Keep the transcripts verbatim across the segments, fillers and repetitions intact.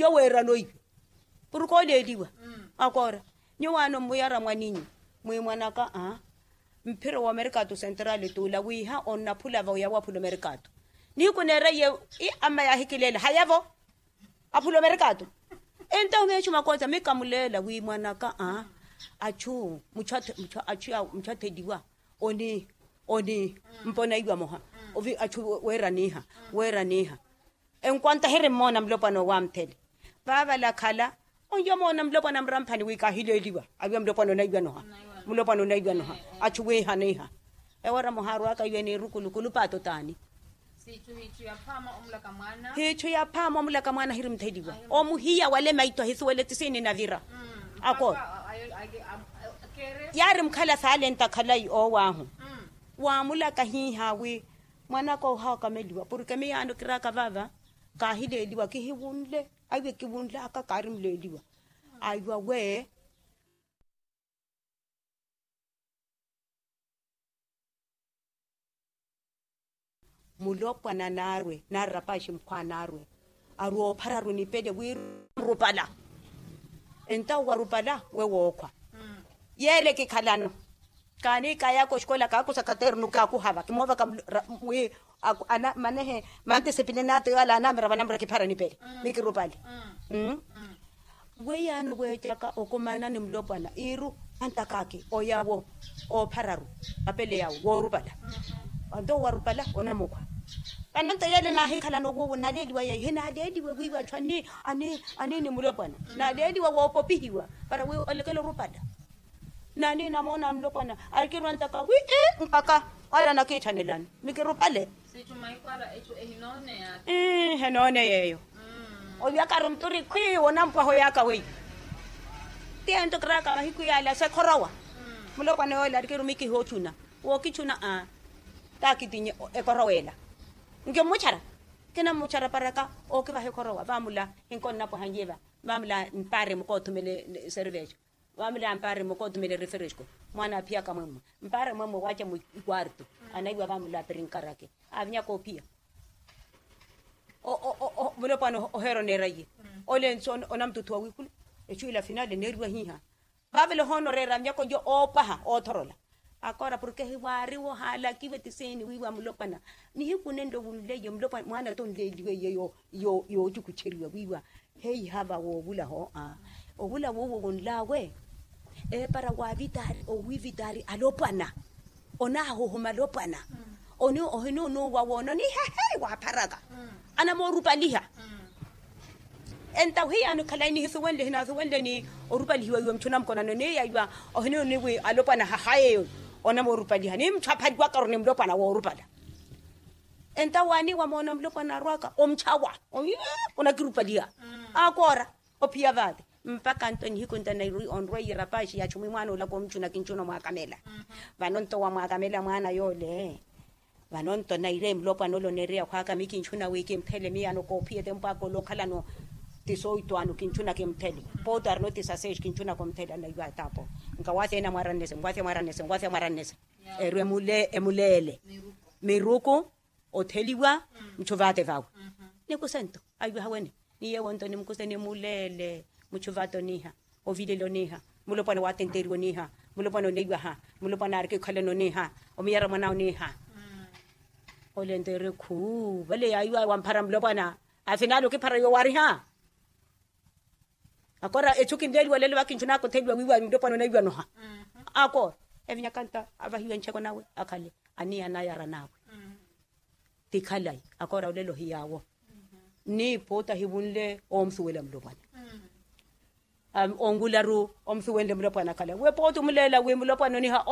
Weerano iwe purukha oleeliwa. Akoora nyuwaano mmuyara mwaninyu mwi mwanaka a mphiro wa merkatu sentrali t'ula wiiha onnaphula va oya waphula omerkatu. Nihiku neera iye ii amma yaahikileela haya vo aphula omerkatu. Entahu meechu makoosa mikamuleela wi mwanaka a achu muchu atheliwa oni oni mpa onaiwa moha ovi achu weeraniha weeraniha. Enkwanta hiri mmoona mulopwana owo amthele vaavalakhala onyo moona mulopwana muramphani wi kaahileeliwa awiwa mulopwana onaiwa noha. Mulopwana onaiwa noha achu wiihaniha. Ewara moha arwaka iwe ni rukulukulu paato t'ani? Hiichu yaphaama omulaka mwaana hiri mutheliwa omuhiya wale maitho ahisuwele tisiini navira. Ako yaari mukhala saale nta khalayi oowaahu waamulaka hiiha wi mwanaka ohakameliwa porke miyaano kiraaka vaava kaahileeliwa kihiwunle aiwe kiwunlaka kaari muleeliwa. Aiwa we mulopwana naarwe naari rapaxi mukhwa naarwe arwe oophararu nipele wiirupala. Entawo warupala we wookhwa yeele kikhalano kaani kaayaka oxikola kaakusa katernu kaakuhava kimoovaka wi manehe mantisipilini ata yoole anaamira vanamura kiphara nipele mikirupale. Weiyaano weecaka okomaana ni mulopwana iiru antakaki oyawo oophararu mapele yawo woorupala. Anto warupala onamukhwa vano nto yeele naahikhalana owuwo naaleeliwa yeeyo hinaaleeliwe wiiwa achu ani ani ni mulopwana naaleeliwa woopopihiwa para wi olekele orupala. Nani namoona mulopwana arikirwa ntaka wi ii mpakha wala nakiitthanelani mikirupale. Ii henooneya eyo olyaka ari muturi khwii wonampwaha oyaka weiyo. Ti ento kiraaka mahiku yaala sekhorowa mulopwana yoole arikirwa mikihi ochuna wookichuna a taakitinye ekhorowa ela. Nkimmuchara kinammuchara paraka ookivaha ekhorowa vaamula hinkonnapwaha nyiva vaamula mpaari mukoothumele service. Vaamila mpaari mukoothumele refresco mwaana aaphiyaka mwemmo mpaari mwemmo waacha mukwarto anaiwa vaamila apirinkarake aavinyaka ophiya. Mulopwana oheera oneera iye ole nsi onamututhuwa wiikulu echu ila finale neeriwa hiiha. Vaavela ohoona oreera myako njo oopwaha oothorola akoora porke hiwaari wohaalakiwe tiseni wiiwa mulopwana nihiku nenlo wunleiye mulopwana mwaana tonleeliwe iye yoocukucheriwa wiiwa. Heiha va woovulaho a ovula woowo wonlaawe eepara waavitaari owiivitaari alopwana onaahuhuma alopwana. Ohinuunuuwa woononiha hei waapharaka anamoorupaliha. Entahu hiyaano khalayi nihisuwenle hinaasuwenle ni orupalihiwa iwe muchuna mukonano niiyaiwa ohinuunuuwi alopwana hahayeyo onamoorupaliha ni muchu aphaliwakaru ni mulopwana woorupala. Entawo waaniiwa moona mulopwana arwaka omuchawa onakirupaliha akoora ophiya vaate mpakha nto nihiku nto nairi onrweiye rapaxi ya chumi mwaana olaka omuchuna kinchuna omwakamela. Vano nto wamwakamela mwaana yoole vano nto nairi mulopwana ole oneereya khwaaka mi kinchuna wi kimphele miyaano koophiya tempo aka ole okhalano ti soito ano kinchuna kimphele pooti arino ti saseexi kinchuna kumphele anaiwa ataapo. Nkawathi ena mwarannese nwathi mwarannese nwathi mwarannese erwe emuleele miruku otheliwa muchuvaate vawe. Nikusento aiwaha wene ni yewo nto nimukuse nimuleele muchuvaate oniha ovilele oniha mulopwana waatenteriwa oniha mulopwana oneiwaha mulopwana aarikikhalana oniha omuyara mwana oniha. Ole nto eri khuu vale yaiwa wamphara mulopwana afinali okiphara yoowariha. Akora echu kinleeliwa lelo vakinchunaka otheliwa wiiwa mulopwana onaiwa noha. Akora evinyaka nto avahiwe ncheko nawe akhale aniya anayara nawe ti khalayi akoora olelo hiyaawo. Nni pooti ahivunle omusuwela mulopwana onwularu omusuwenle mulopwana khalayi we pooti omuleela wi mulopwana oniha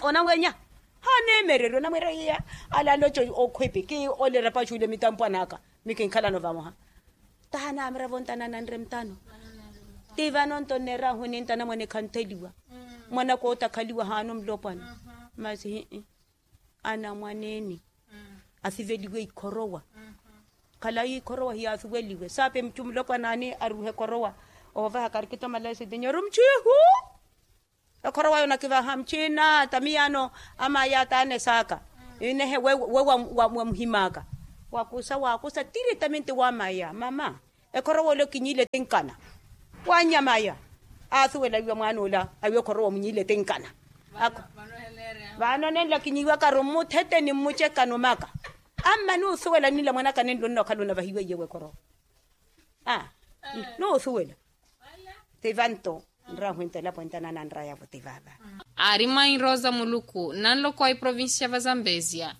onanwenya. Haneemererya onamwiira iya alaloca okhwipi ki ole rapaxuule mitampwan'aka mi kinkhalano vamoha. Taha naamira vontanana nre mutano ti vano nto nneerahu nintanamwane khantheliwa mwanaka otakhaliwa haano mulopwana. Masi hii anamwaneeni asiveliwe ikhorowa. Khalayi ikhorowa hiyaasuweliwe saapi muchu mulopwana ani aruuhe ekhorowa ovaha karikito malaisi tinyo eri muchu ihu. Ekhorowa yonakivaha muchina tamiyaano amaya taanesaaka inehe we wamuhimaka wakusa wakusa tiri taminti wamaya mama. Ekhorowa ole okinyiile tinkana. Wannyamaya asuwela wiiwa mwaana ola awiwa ekhorowa omunyiile tinkana. Vaano nenla kinyiiwakaru mmuthete ni mmucekani omaka. Ammani osuwela ninla mwanaka nenla onnookhala onavahiwa iyewe ekhorowa. Aa. Noosuwela. Tivanto nraahwinta elapo entana nanrayavo tivaava. Aari mwainroza muluku nanlokowa iprovincia va zambezia.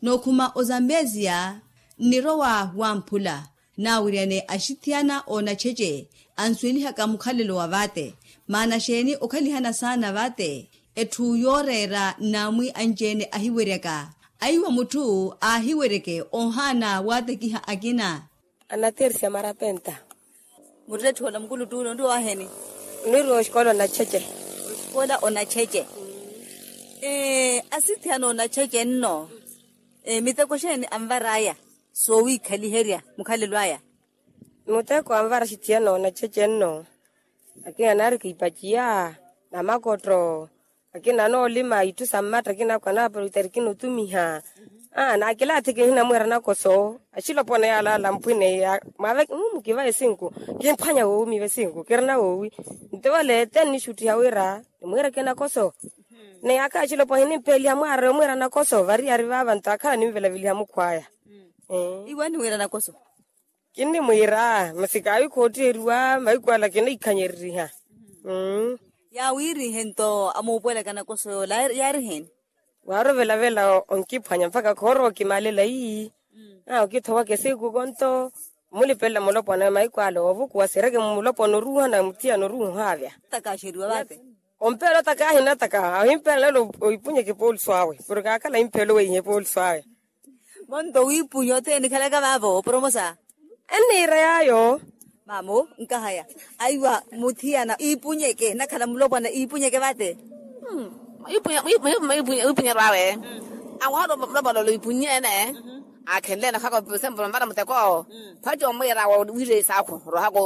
Nookhuma ozambezia nnirowa wamphula. Naawiryane axithiyana oonacheche ansuwelihaka mukhalelo wa vaate. Maana xeeni okhalihana saana vaate? Etthu yooreera nnaamwi anci-ene ahiweryaka. Aiwa mutthu aahiweryeke ohaana waatekiha akina. Anatersia marapenta. Muttetthu ola mukuluttuna onriwa waheni? Onriwa oxikola onacheche. Oxikola onacheche. Asithiyana onacheche nno miteko xeeni anvar'aya soowiikhaliherya mukhalelo aya? Muteko anvara axithiyana onacheche nno. Akina naarika ipaciya, namakottho. Akina anoolima itthu sa mmatta akina akhu anaapara witari kinotumiha. Aa naakilaathiki nhinamwiira nakoso axilopwana yaalaala mphwine ya mwaaveke mumukivaya esinku. Kimphwanya woowi miiva esinku kirina woowi. Nto vale te nnixuttiha wira nimwiireke nakoso. Ni yaakha axilopwana hinimpeliha mwaari omwiira nakoso variyari vaava nto akhala nimvelaveliha mukhw'aya. Iwe aniwiira nakoso? Kinnimwiira masi kaawi khootthiheriwa mahiku ala kinahikhanyereriha. Yaawiirihe nto amuupuwelaka nakoso yoola yaari eheeni? Waarovelavela onkiphwanya mpakha khoorowa okimaalela ii. Aa okithowaka esiku konto omulipelela mulopwana mahiku ala oovukuwa sireke mulopwana oruuha na muthiyana oruuha ohaavya. Takaaxeriwa vaate? Ompeelo takaahi na takaahi ahimpeela nelo oipunyeke epoolusu awe. Porke akhala ahimpeela oweiha epoolusu awe. Monto wiipunya othene nikhalaka vaavo oporomosa? Enniira yaayo. Maamo nkahaya aiwa muthiyana iipunyeke nakhala mulopwana iipunyeke vaate? Mwiipunyeryo awe anwahala mulopwana ole oipunyeene. Akhenleene okhaka osempo nvara muteko. Phaci omwiira awe wiireyi saakhu rohaka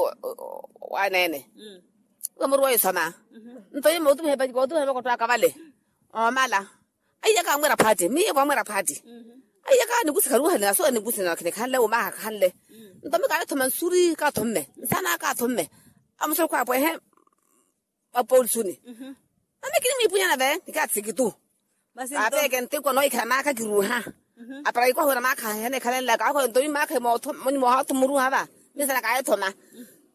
waneene. Iwe muruwa oisoma nto yime otumiha epaci kootumiha makottho aka vale. Omala aiyaka amwiira phaati miyo kwamwiira phaati. Aiyaka nikusi kharuuhale na soola nikusi na khinikhanle wumaha khanle. Nto mi kaathoma nsuri kaathomme nsana kaathomme. Amusurukhu apwehe apoolusuni. Nami kinimwiipunya nave nikaatsiki tu. Kaaveke ntikwa noohikhala maakha kiruuha. Apara ikwaha wira maakha aheneekhalenlaka akho nto mi maakha monyi moohaathu muruuha va. Minsana kaahithoma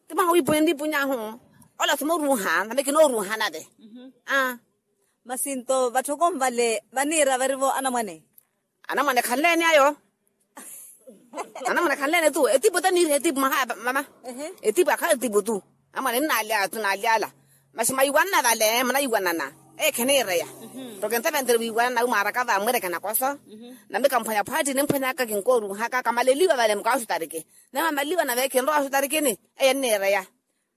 ti mwaha wiipunya nniipuny'ahu. Ola thuma oruuha nami kinooruuha nave. Aa. Masi nto vatthokomu vale vaniira varivo anamwane? Anamwane khanleene ayo. Anamwane khanleene tu etipu ete niiriha etipu mwaha mama. Etipu akhala etipu tu. Anamwane nnaalyala tu naalyala. Masi mwayiwanana vale munayiwanana. Eyo kheniireya. Toke ntaventere wiiwanana wi mwaaraka va mwiireke nakoso. Nami kamphwanya phaati nimphwanyaka kinkooruuhaka kamaleliwa vale mukaaxutariki. Nami amaleliwa nave kinrowa axutarikini. Eyo enniireya.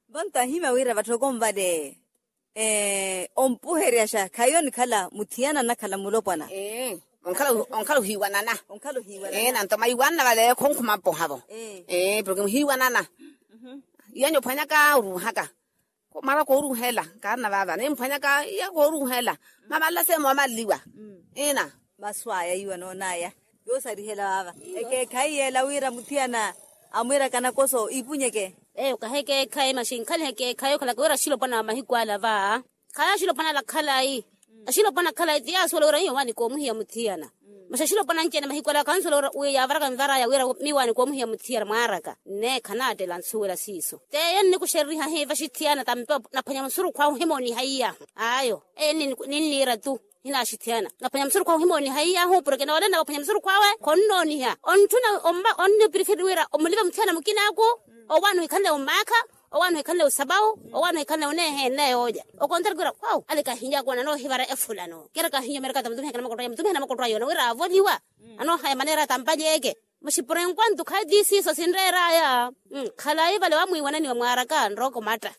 Vonto ahimya wira vatthokomu vale ompuheryaxa khayi onikhala muthiyana anakhala mulopwana. Onkhala ohiiwanana. Onkhala ohiiwanana. Nanto mwayiwanana vale khonkhuma mpohavo. Porke muhiiwanana. Iyanyu ophwanyaka oruuhaka. Mwaaraka oruuhela nkaarina vaava nimphwanyaka iya kooruuhela. Mamalala seemo wamalaliwa. Ina. Maswaya iwa noonaya yoosarihela vaava. Ekeekhayi yeela wira muthiyana amwiiraka nakoso iipunyeke. Eyo kahekeekhayi masi nkhalihe ekeekhayi okhalaka wira axilopwana wa mahiku ala va. Khaya axilopwana ala khalayi. Axilopwana khalayi ti yaasuwela wira miyo waanikoomuhiya muthiyana. Masi axilopwana anci-ene mahiku ala khansuwela wira yavaraka nvar'aya wira miyo waanikoomuhiya muthiyana mwaaraka nneekha naattela nsuwela siiso t'eyo nnikuxereriha hiiva axithiyana tampe naphwanya musurukhu ahu ohimooniha iy'ahu. Ayo eyo ninniira tu. Hinaaxithiyana naphwanya musurukhu ahu ohimooniha iy'ahu porke noolena waphwanya musurukhu awe khonnooniha ontthuna. Onnipirifiri wira omulive muthiyana mukinaku. Owaana ohikhanle omaakha owaana ohikhanle osapawu owaana ohikhanle oneeheene yoolya. Okontari kwira wawu ale kahinyaka ona anoohivara efulano kira kahinya omerekata mutumiha kina makottwa ayo mutumiha na makottwa ayo ona wira aavoliwa. Anoohaya maneera tampalyeeke. Muxipurenku antu khayi ti siiso sinreer'aya. Khalayi vale wamwiiwananiwa mwaaraka nrooko matta.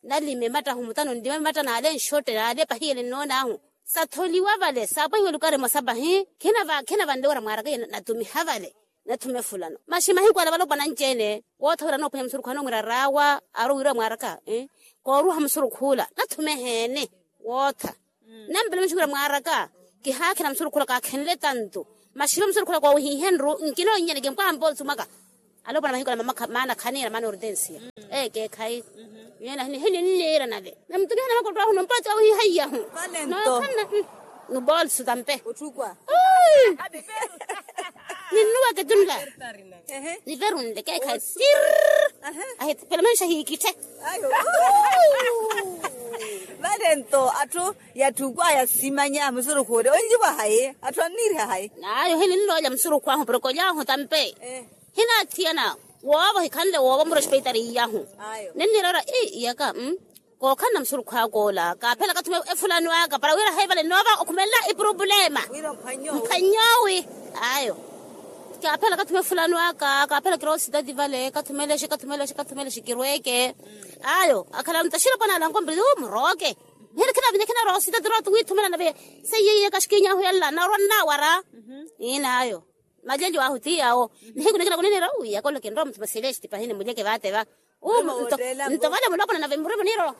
Nalime matta ahumutano nlime matta naale nxotte naale pahiyele nnoon'ahu. Satholiwa vale saapwahiwa elukari emosa pahi. Khina vanle wira mwaaraka iya natumiha vale. Nathume fulano masi mahiku ala valopwana anci-ene wootha wira anoophwanya musurukhu anoomwira raawa aari owiira mwaaraka. Kooruuha musurukhu ula nathume eheene. Wootha nampela muxukhira mwaaraka. Kihaakhina musurukhu ula kaakhenle tantu masi ivo musurukhu ula koowihihenru. Nkinoonnyani kimpwaha mpoolusu mwaka. Alopwana mahiko na mama maana khaniira maana ortensia. Ekeekhayi. Nyena hininniira nave namutumihana makoto ahu nompatsi ahu hihaiyahu. Nookhanna. Nubolsu tampe. Ninnuweke tunla. Niverunle keekhayi tirr. Ahipela manisha hiikitthe. Vale nto atthu yatthukwaya simanya musurukhu ole onjiwa hayi atthu anniiriha hayi. Nayo hininloolya musurukhu ahu poroko lyahu tampe. Hinaathiyana woovo hikhanle woovo murospeitari iyahu. Ninniira ora ii iyaka. Kookhanna musurukhu aka ola kaaphela kathume efulani waka para wira haivale noova okhumelela ipurupulema. Mphwanyoowi. Ayo. Kaaphela kathume efulani waka kaaphela kirowa ositati vale kathumelexe kathumelexe kathumelexe kirweke. Ayo akhala ntaxira opwana alankompeli uu murooke. Nihiri khinavinya khinarowa ositati rowa tuwiithumela nave. Seiye iye kaxikinyahu yalla narwa nnawara. Iina ayo. Maleli wahu ti yawo. Nihiku nikila kunenera uwi yakooleke nrowa muthu maselesti pahini mulyeke vaate va. Nto vale mulopwana nave murimu niro.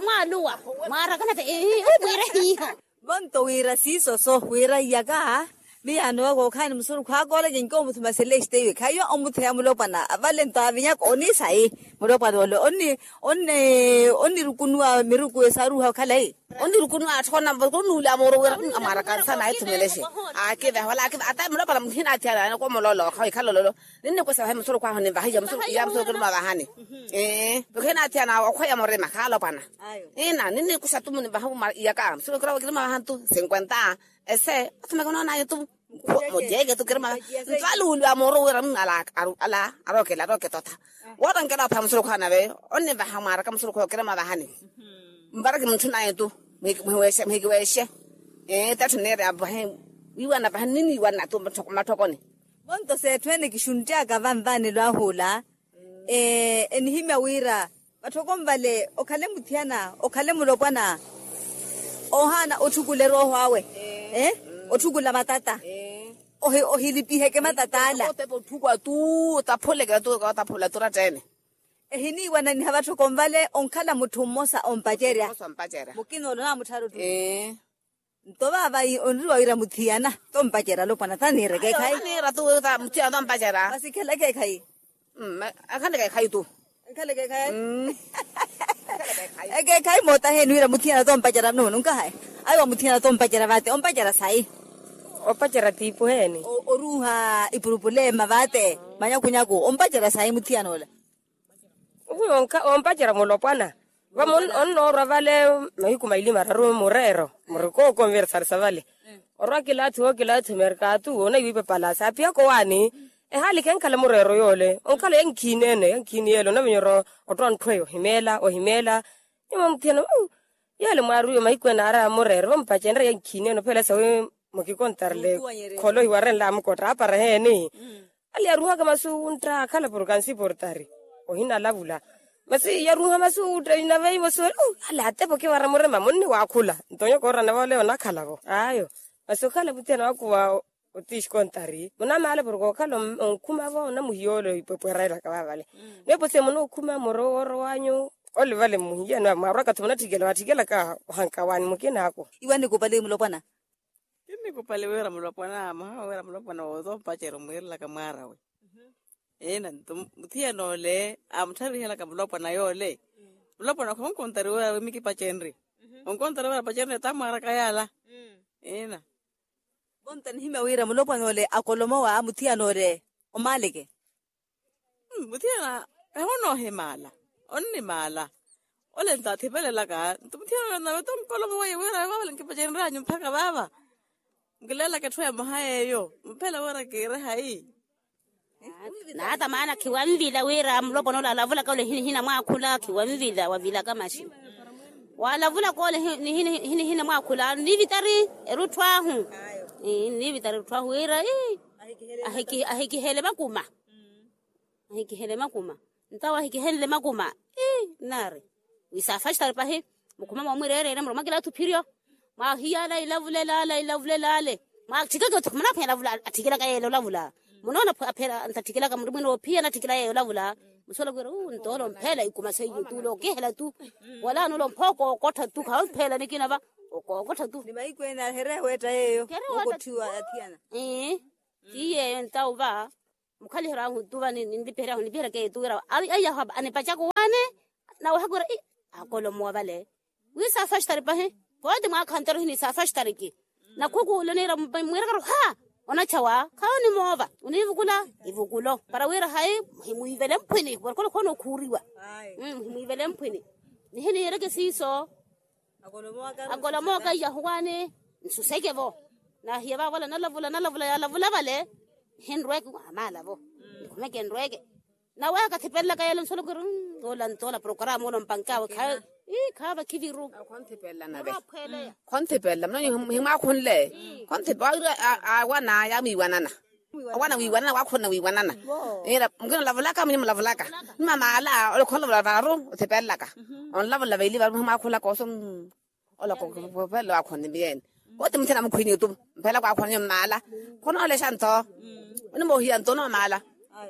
Mwaaluwa. Mwaarakana te. Umwire hiiho. Vonto wira siiso so wira iyaka. Miyaano wa kookhaani musurukhu akooleke nkowo muthu maselesti iwe khayiwa omutheya mulopwana vale nto avinyaka oniisayi. Mulopwana ole onni onni onnirukunuwa miruku esaaruha okhalayi. Onnirukunuwa atthu onamva kunuula mooro wira amwaaraka nsa naahithumelexe. Aakiveha wala aakiveha ata mulopwana muhina athiyana ene komoloolo okhawa ikhala ololo. Ninnikwesa vahe musurukhu ahu ninvaha iya musurukhu iya musurukhu kiruma vahani. Ee muhina athiyana okhweya murima khaalopwana. Ina ninnikuxa tu munimvaha iyaka musurukhu kiruma vahantu sinkwenta. Ese athumeke onoonaye tu. Mujeeke tu kirima nto aluuluwa mooro wira munna ala arookela arooketotha. Woota nkela opha musurukhu anave onnivaha mwaaraka musurukhu okirima vahani. Mvaraki munthu naye tu muhikiweexe. Ee tatthu neeri apahe wiiwana pahe niniiwana tu mmathokoni. Vonto seetthu ene kixunttiyaka vanvanelo ahu ola. Enihimya wira vatthoko nvale okhale muthiyana okhale mulopwana. Ohaana otthukula erooho awe otthukula matata. Ohilipiheke matata ala. Otthukuwa tu otaphuleke tu otaphula tu oratta ene. Ehiniiwananiha vatthoko nvale onkhala mutthu mmosa ompacerya. Mukina ole onaamuttharu tu. Nto vaava onriwa wira muthiyana tompacera alopwana taniira ekeekhayi. Taniira tu muthiyana tompacera. Masi khela ekeekhayi. Akhale ekeekhayi tu. Ekeekhayi mootaheeni wira muthiyana tompacera nununkahayi. Ayiwa muthiyana tompacera vaate ompacera sayi. Opacera tiipuheeni. Oruuha ipurupulema vaate manyakunyaku ompacera sayi muthiyana ola. Ompacera mulopwana vamo onnoorwa vale mahiku maili mararu mureero muri kookonversarisa vale. Orwa kilaathu wo kilaathu merkatu onaiwipe palasi aphiyaka owaani. Ehaali kenkhala mureero yoole onkhala yankhiini ene yankhiini yeele onavenya orwa otthu antthu eyo ohimeela ohimeela. Nyuma muthiyana yeele mwaariwe mahiku ene aari amureero vamupacenrye yankhiini ene ophela sawi. Mukikontarle kholo hiwarenle amukotta apara heeni. Ale yaruhaka masu wuntta akhala porkansi portari ohinalavula. Masi yaruha masu wuntta inaveivo sori. Ale atepo kiwara murima munniwaakhula nto nyo koorana vooleyo onakhalavo ayo. Masi okhala muthiyana wakuva otiisi kontari munamaala porka okhala onkhumavo onamuhiyoole ipwepwera elaka vavale. Nepo se munookhuma muro wooro wanyu. Ole vale mmuhiyana mwarwaka tho munatthikela watthikela ka ohanka waani mukina ako. Iwe annikupali mulopwana. Kinnikupali wira mulopwana mwaha wira mulopwana wootompacera omwiirelaka mwaarawe. Ina nto muthiyana ole amuttharihela ka mulopwana yoole. Mulopwana khonkontari wira wimikipacenri. Onkontari wira apacenri ata mwaaraka yaala. Ina. Vonta nihimya wira mulopwana ole akolomowa muthiyana ole omaaleke. Muthiyana eho noohimaala onnimaala. Ole nto athipelelaka nto muthiyana ole nave tonkolomo weiye wira vavale nkipacenryanyu mpakha vaava. Nkileelaka etthu emoha yeeyo mphela wira kiire hayi. Naata maana khiwanvila wira mulopwana ole alavulaka ole hinihina mwaakhula khiwanvila wavilaka maxi. Walavulaka ole hinihina mwaakhula nivitari erutthu ahu. Nivitari erutthu ahu wira ii ahikihele makuma. Ahikihele makuma. Nto awo ahikihenle makuma ii nnaari. Wisaafaxitari pahi mukhuma moomwireerene muromwa kilaathu phiryo. Mwaahiyala ilavulelale ilavulelale. Mwaatthikeke othi munaphwanya lavula atthikilaka yeela olavula. Munoona aphela ntatthikilaka muri mwina oophiyana atthikila yeela olavula. Musuwela kwira uu ntoolo mphela ikuma seiyo tu ole okihela tu. Wala nulo mphooko okottha tu khawe mphela nikina va. Okokottha tu ni mahiku ene ahereya weetta yeeyo. Okotthiwa athiyana. Ii ti yeeyo ntawo va. Mukhaliherya ahu tuva ninlipiherya ahu nlipiherya keetu wira aiyaho anipacaka owaani. Nawehaku wira akolomowa vale. Wi saafaxtari pahi. Pooti mwaakha ntero hini saafaxtariki. Nakhukuule niira mwiirakaru ha onachawa khawo nimoova onivukula. Ivukulo para wira hayi himwiivele mphwini khuparikhola khoona okhuuriwa. Himwiivele mphwini nihiniireke siiso. Akolomoka iyahuwaani nsuseke vo. Nahiya vaavola nalavula nalavula yaalavula vale. Nihinrweke amaala vo. Nikhumeke nrweke. Nawe kathipelelaka yeelo nsolokeri. Ola ntoola programa ola mpankaawe khaava khiviru. Khonthipelelana ve. Khonthipelelana himwaakhunle. Khonthipelelana awana yaamwiiwanana. Awana wiiwanana waakhunna wiiwanana. Mukina olavulaka munye mulavulaka. Ni mamaala ole khonlavula vaaru othipelelaka. Onlavula veili vaaru himwaakhunlaka oso. Ola khopela waakhonne miyeene. Wooti muthina mukhwini otu mpela kwaakhonne nyummala. Khonoolexa ntho. Onimoohiya ntho onomala.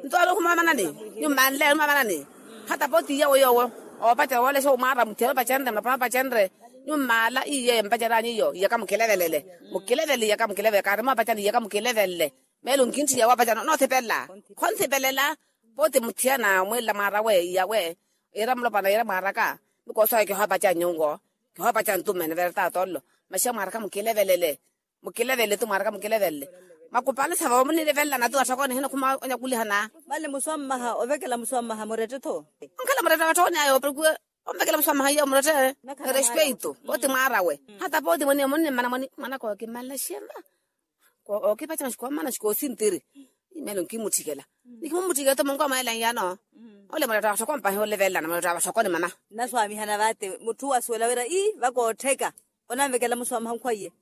Ntho onokhuma omanani. Nyummanle onomamanani. Hata pooti iyawo yoowo oopacerya woolexa omwaara muthiyana opacenre mapana opacenre. Nyummala iye mpaceryanyu iyo iyaka mukilevelele. Mukilevelele iyaka mukilevelele kaari moopacerya iyaka mukilevelele. Meelo nkintthiya woopacana onoothipela. Khonthipela. Pooti muthiyana omweelela mwaarawe iyawe. Iira mulopana iira mwaaraka. Ni koosawe kihoopaca nyungo. Kihoopaca ntumene veereta atollo. Maxiya mwaaraka mukilevelele. Mukilevelele tu mwaaraka mukilevelele. Makupale sava omunilevelelana tu atthokoni hino khuma onyakulihana. Vale muswammaha ovekela muswammaha murette-tho. Onkhala murette watthokoni ayo opekuwe. Onvekela muswammaha iyo murette. Respeito pooti mwaarawe. Hata pooti moni omunimmana moni mwanaka okimmala xirna. Kookipaca maxi koomana maxi koosintiri. Meelo nkimutthikela. Nikimumutthikela tu munko mweela nyano. Ole muretta watthoko mpahi olevelelana muretta watthoko ni mama. Nnaswaamihana vaate mutthu wasuwela wira ii vakoottheka. Onanvekela muswamaha nkhwaiye.